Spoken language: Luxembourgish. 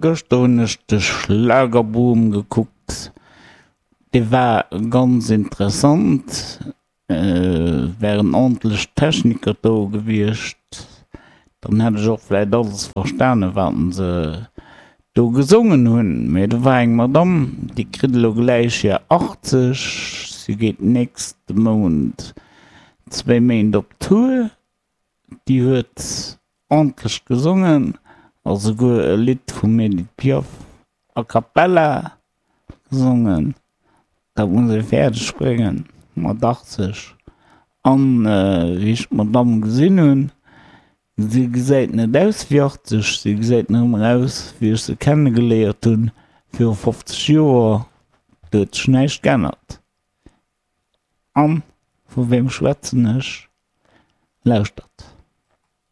Gëschter hunn ech de Schlagerboom gekuckt. Dee war ganz interessant. Wären ordentlech Techniker do gewiescht, dann hätt ech och vläit alles verstanen, wat se do gesongen hunn. Mee do war eng Madamm, déi kritt elo gläich hir 80, si geet nächste Mount zwéi Méint op Tour. Déi huet ordentlech gesongen a souguer e Lidd vum Edith Piaf a cappella gesongen. Dat muss ee fäerdeg bréngen mat 80. An wéi ech d'Madamm gesinn hunn, si gesäit net aus wéi 80, si gesäit nach ëmmer aus wéi ech se kennegeléiert hunn viru 50 Joer. Do huet sech näischt geännert. An vu wem schwätzen ech? Lauschtert.